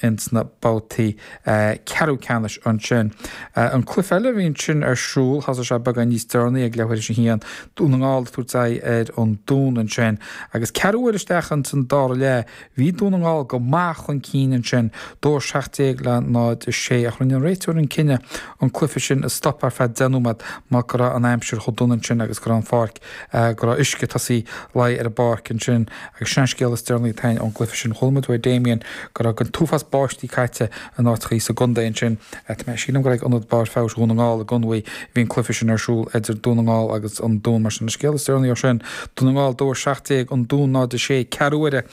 Ins na babhtaí ceathrú ceannais ansin. An cluiche eile a bhí ansin ar siúl, thosaigh sé beagán níos deireanaí ag leathuair théis a haon, Dún na nGall ag tabhairt aghaidh ar an Dún ansin. Agus ceathrú uair isteach ins an dara leath, bhí Dún na nGall go maith chun cinn ansin, 2-17 le 0-6, ach rinne an réiteoir an cinneadh an cluiche sin a stopadh ar feadh 10 nóiméad mar go raibh an aimsir chomh dona ansin agus go raibh an pháirc go raibh uisce ag tosaí luí ar an bpáirc ansin agus sin an scéal is deireanaí atá againn ón gcluiche sin. Chuala muid uaidh Damien go raibh an t-uafás báistí caite in áiteachaí sa gcontae ansin. Tá mé, sílim gur ag Ionad Barr Feabhais Dhún na nGall i gConmhaigh a bhí an cluiche sin ar siúl idir Dún na nGall agus an Dún. Mar sin an scéal is deireanaí ó sin, Dún na nGall 2 17, An Dún 0 6, ceathrú uaire.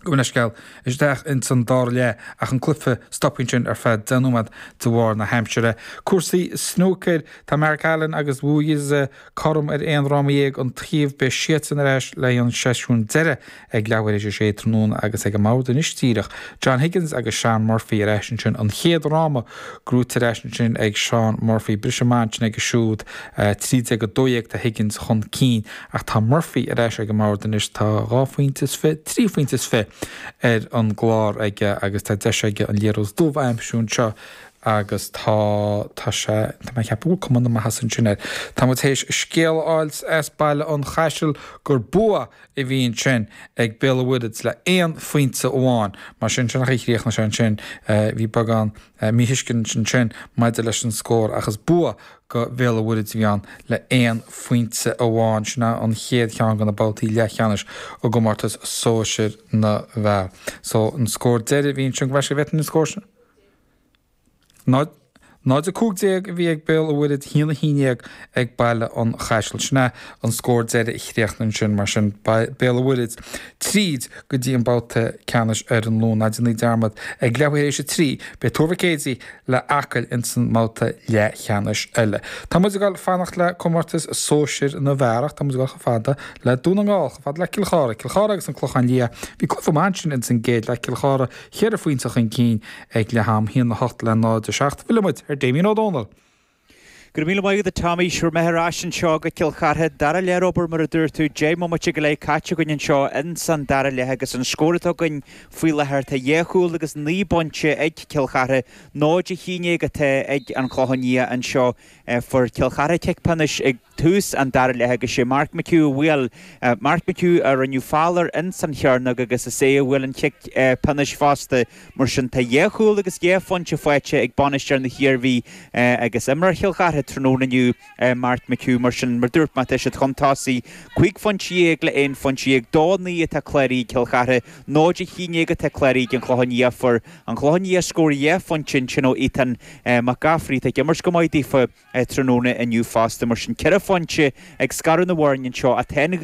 Gabh mo leithscéal, isteach ins an dara leath ach an cluiche stoptha ansin ar feadh 10 nóiméad de bharr na haimsire. Cúrsaí snúcair, Tá Mark Allen agus Wu Yize cothrom ar aon fhráma dhéag an taobh. Beidh siadsan ar ais le haghaidh an seisiún deiridh ag leathuair théis a sé tráthnóna agus ag an mbord anois díreach John Higgins agus Shaun Murphy ar ais ansin. An chéad fhráma gnóite ar ais ansin ag Shaun Murphy. Briseadh maith ansin aige siúd. 13-12 tá Higgins chun cinn. Ach tá Murphy ar ais ag an mbord anois, tá dhá phointe is fi, trí phointe is fi ar an gclár aige agus tá deis aige an liathróid dubh a aimsiú anseo agus tá, tá sé, tá mé ag ceapadh go bhfuil cuma na maitheasa ansin air. Tá muid théis scéal a fháil as Baile an Chaisil gur bua a bhí ansin ag Béal an Mhuirthead le aon phointe amháin. Mar sin, sin an chaoi a chríochnaigh sé ansin. Bhí beagán míthuiscint ansin maidir leis an scór ach is bua go Bhéal an Mhuirthead a bhí ann le aon phointe amháin. Sin é an chéad cheann de na babhtaí leathcheannais i gcomórtas sóisir na bhfear. So, an scór deiridh a bhí ansin, go bhfeicfidh bhfeicfinn an scór sin. 0, 0-15 a bhí ag Béal an Mhuirthead, 1-11 ag Baile an Chaisil. Sin é an scór deiridh a chríochnaigh ansin, mar sin, Béal an Mhuirthead tríd go dtí an babhta ceannais ar an Luan. Ná déanaí dearmad, ag leathuair théis a 3, beidh Tuar Mhic Éadaigh le Acaill ins an mbabhta leathcheannais eile. Tá muid ag dul fanacht le comórtas sóisir na bhfear ach tá muid ag dul chomh fada le Dún na nGall, chomh fada le Cill Chartha. Cill Chartha agus an Clochán Liath. Bhí cluiche maith ansin ins an gcéad leath, Cill Chartha cheithre phointe chun cinn ag leath am, 1-8 le 0-7. Fillfidh muid ar Damien Ó Dónaill. Go raibh míle maith agat a Tommy, sure mé ar ais anseo go Cill Chartha, dara leath ar obair mar a dúirt tú, 10 mbomaite go leith caite againn anseo ins an dara leath agus an scór atá againn faoi láthair tá dhá chúl agus naoi bpointe ag Cill Chartha, 0-11 atá ag An Clochán Liath anseo. Fuair Cill Chartha cic pionóis ag tús an dara leath agus sé Mark McHugh a bhuail, Mark McHugh a rinneadh feall air ins an chearnóg agus is é a bhuail an chic pionóis fosta. Mar sin tá dhá chúl agus dhá phointe faighte ag bainisteoir na hIarmhí agus imreoir Chill Chartha tráthnóna inniu, Mark McHugh. Mar sin, mar dúirt mé, tá siad chun tosaigh, 15 phointe le 11 phointe, 2-9 atá cláraithe ag Cill Chartha, 0-11 atá cláraithe ag an Chlochán Liath. Fuair an Clochán Liath scór dhá phointe ansin ó Ethan Mac Gafraidh atá ag imirt go maith daofa tráthnóna inniu fosta. Mar sin, ceithre phointe ag scaradh na bhfoirne anseo. Tá an ghaoth.